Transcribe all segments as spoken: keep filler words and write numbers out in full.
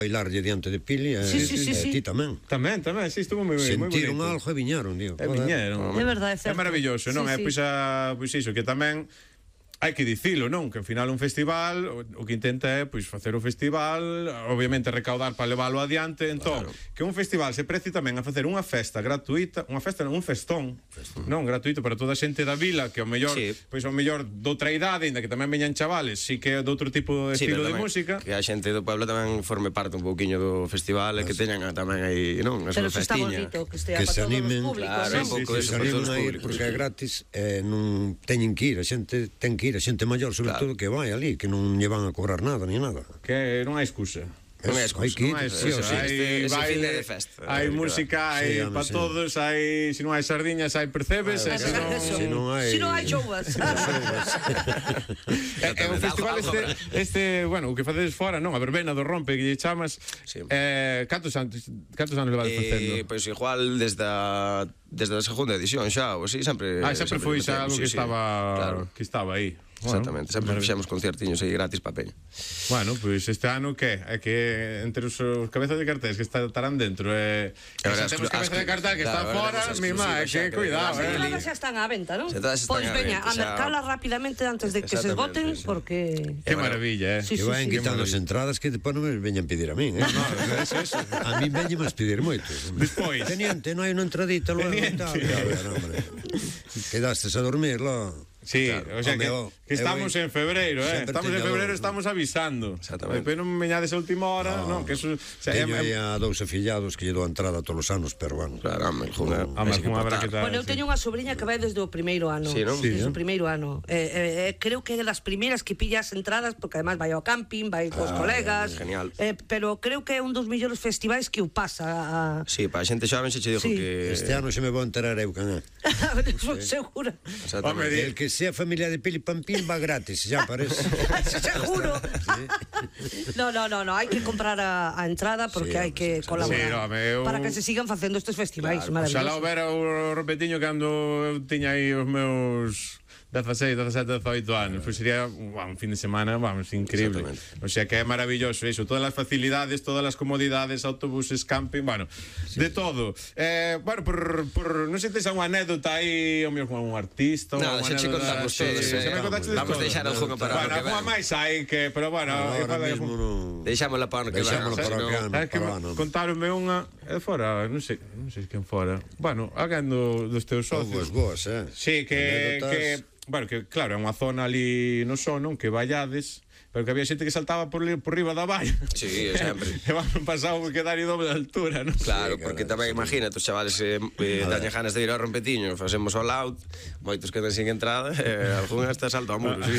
bailarlle diante de Pili e Sí, sí, sí, sí. ti tamén. Tamén, tamén, sí, estuvo moi bonito. Sentiron algo e viñeron, digo. E viñeron. É verdade, é É certo. maravilloso, non? Sí, É sí. pois a, pois iso, que tamén hai que dicilo, non? Que ao final un festival o, o que intenta é pois facer o festival, obviamente recaudar para leválo adiante, entón, claro, que un festival se precie tamén a facer unha festa gratuita, unha festa non, un festón, festón. Non, gratuito para toda a xente da vila, que ao mellor, sí, pois ao mellor doutra idade, ainda que tamén veñan chavales, si que é doutro tipo de sí, estilo de tamén, música. Que a xente do pueblo tamén forme parte un pouquiño do festival e que teñan tamén aí, non, a súa festiña. Pero que estea que para se todos os animen, públicos, claro, non? un pouco que eso se para todos animen os a ir públicos. porque é gratis e non teñen que ir, a xente ten que ir, a xente maior sobre Claro. todo que vai ali, que non lle van a cobrar nada ni nada. Que non hai excusa. Non hai excusa, hai que ir, non hai sí, o excusa. sí. Hai Este- ese baile, fin de festa. hai música, hai Sí, home, para sí. todos, hai, se non hai sardiñas, hai percebes, e Ah, se non... eso. Se non hai- Si non hai chouvas. É, é un festival Algo- algo este, este, bueno, o que facedes fora, non? A verbena do rompe que lle chamas. Sí. Eh, cantos anos, cantos anos levades facendo? Eh, pois igual desde a, desde a segunda edición xa, ou así, sempre Ah, sempre foi xa algo sí, que sí, estaba claro. que estaba aí. Exactamente, sempre maravilloso. fixemos concertiños aí gratis pa peña. Bueno, pois pues este ano que é que entre os, os cabezas de cartéis que estarán dentro e eh, Agora, xa temos as- cabezas de cartel que claro, están agora fora, temos mi má, é exclusivas xa, que que cuidado, vas a eh. ir Todas xa están á venta, non? Xa todas están Pois á veña, venta, a xa. mercalas rapidamente antes de que se Exactamente, esgoten, sí. porque... Que maravilla, eh. Sí, Que sí, vayan sí. quitando as entradas que depois non me veñan pedir a min, eh? No, eso, eso. A min veñen máis pedir moito. Despois. Teniente, non hai unha entradita logo e Teniente. tal. A ver, hombre. Quedastes a dormir, lo. Sí, Claro. o sea Home, que, o- que estamos eu- en febreiro, eh. sempre Estamos en teño febreiro, dous, estamos avisando. Exactamente. Depois non me veñades a última hora, non, que eso, o sea, Teño é- aí a dous afillados que lle dou a entrada todos os anos, pero bueno. Claro, home, junha, Ah, mas unha habrá que tal. Bueno, eu sí. teño unha sobrinha que vai desde o primeiro ano. Sí, non? Desde Sí, o eh. primeiro ano. Eh, eh, eh, creo que é das primeiras que pilla as entradas, porque además vai ao camping, vai cos colegas. genial. Eh, pero creo que é un dos mellores festivais que o pasa. A... Sí, para a xente xoven xe che dixo Sí. que Este ano se me vou enterar eu can é. Son segura. Home, di- El que sea familia de Pili Pampín va gratis, ya parece. Seguro. No, no, no, no, hai que comprar a, a entrada porque Sí, hai que colaborar Sí, no, home, eu- para que se sigan facendo estes festivais. Oxalá Maravilloso. houbera o repetiño cando eu tiña aí os meus dezaseis, dezasete, dezoito anos, pois sería uah, un fin de semana, vamos, increíble. O sea que é maravilloso iso, todas as facilidades, todas as comodidades, autobuses, camping, bueno, sí, de todo. Eh, bueno, por, por non sei se tes unha anécdota aí, o meu con un artista, Nada, unha xa che anécdota, contamos sí, todos, xa eh. me contaste de Vamos todo. deixar algunha para bueno, o que algunha ven. máis hai que, pero bueno, Ahora igual hai mismo algún- non. Deixámosla para o ano que Deixámosla ven, para o senón- que ano. É que para o ano. contaronme unha é fora, non sei, non sei quen fora. Bueno, alguén do, dos teus socios. Boas, boas, eh. Sí, que, Anécdotas. que bueno, que claro, é unha zona ali no son, non? Que vallades, pero que había xente que saltaba por, li- por riba da valla. Sí, sempre. E van pasado por quedar aí doble de altura, non? Claro, Sí, porque claro, tamén imagínate, os chavales eh, eh, dañan ganas de ir ao rompetiño, facemos all out, moitos quedan sin entrada, e algún hasta salta ao muro, sí.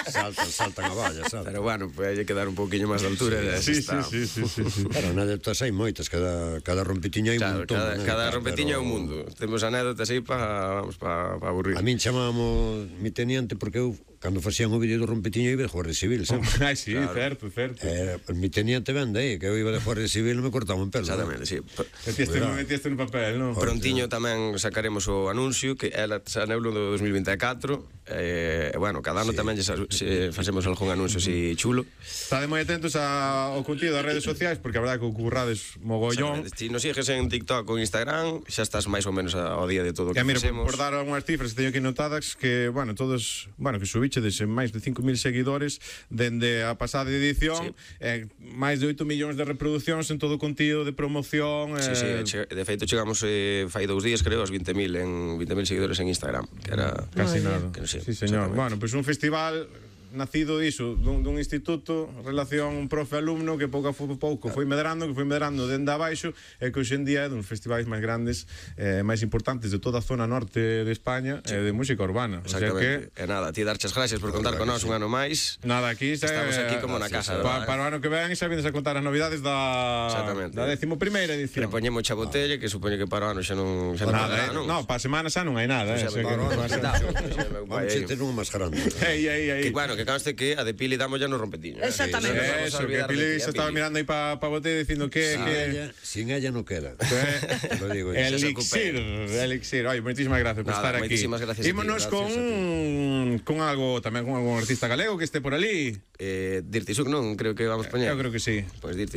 Saltan, saltan a valla, saltan. Pero bueno, pues hai que quedar un pouquiño máis de altura, e Sí, así sí, está. sí, sí, sí, sí. Claro, anécdotas hai moitas, cada, cada rompetiño hai Claro, un montón. cada, né? cada Claro, rompetiño é un pero mundo. Temos anécdotas aí para, vamos, para pa aburrir. A min chamábamos mi teniente porque eu, cando facían o vídeo do rompetiño, iba de Guardia Civil, sempre. Ai, sí, claro, certo, certo. Eh, mi teniente vende aí, que eu iba de Guardia Civil e me cortaban pelo. Exactamente, sí. P- Metiste, Cuidado. metiste no papel, non? Prontiño tamén sacaremos o anuncio que ela xa neulo do dos mil vinte e catro e, eh, bueno, cada ano sí, tamén se, se facemos algún anuncio así chulo. Estade moi atentos a, ao contido das redes sociais porque a verdade que o currades mogollón. Si nos sigues en TikTok ou Instagram, xa estás máis ou menos ao día de todo o E que mira, por, facemos. por dar algunhas cifras que teño aquí notadas que, bueno, todos, bueno, que subichedes en máis de cinco mil seguidores dende a pasada edición, Sí. eh, máis de oito millóns de reproduccións en todo o contido de promoción. Sí, sí, eh, che- de feito chegamos eh, fai dous días, creo, aos vinte mil en vinte mil seguidores en Instagram, que era Casi Moi nada. que non sei, Sí, señor. exactamente. Bueno, pois pues un festival nacido diso, dun, dun instituto, relación un profe-alumno que pouco a pouco, pouco foi medrando, que foi medrando dende abaixo e que hoxe en día é dos festivais máis grandes e eh, máis importantes de toda a zona norte de España e eh, de música urbana. O sea Exactamente. que E nada, ti darches gracias por contar con nós un ano máis. nada, aquí xa, Estamos aquí como na casa, pa, verdad, para o ano que ven xa vienes a contar as novidades da Exactamente. da décimo primeira edición. Repoñemos a botella, que supoño que para o ano xa non xa non Nada, poderá, eh? No, para a semana xa non hai nada, eh? Xa O sea me- que- Para o ano, Xa, xa me- Vamos a ter unha máis grande. Ei, ei, ei. Que bueno, que conste que a de Pili damos ya no rompetiño. eh. Exactamente. Sí, non nos vamos a Eso, que olvidar de Pili ti, se eh, estaba Pili. mirando aí para pa botella dicindo que... Sin que... ella, sin ella no queda. Eh, Te lo digo. El se elixir, recupera. elixir. Oye, moitísimas gracias por Nada, estar aquí. moitísimas gracias a ti, Ímonos gracias con a ti. con algo tamén con algún artista galego que este por ali. Eh, Dirty Suk non, creo que vamos poñer. Eu creo que sí. Pois Dirty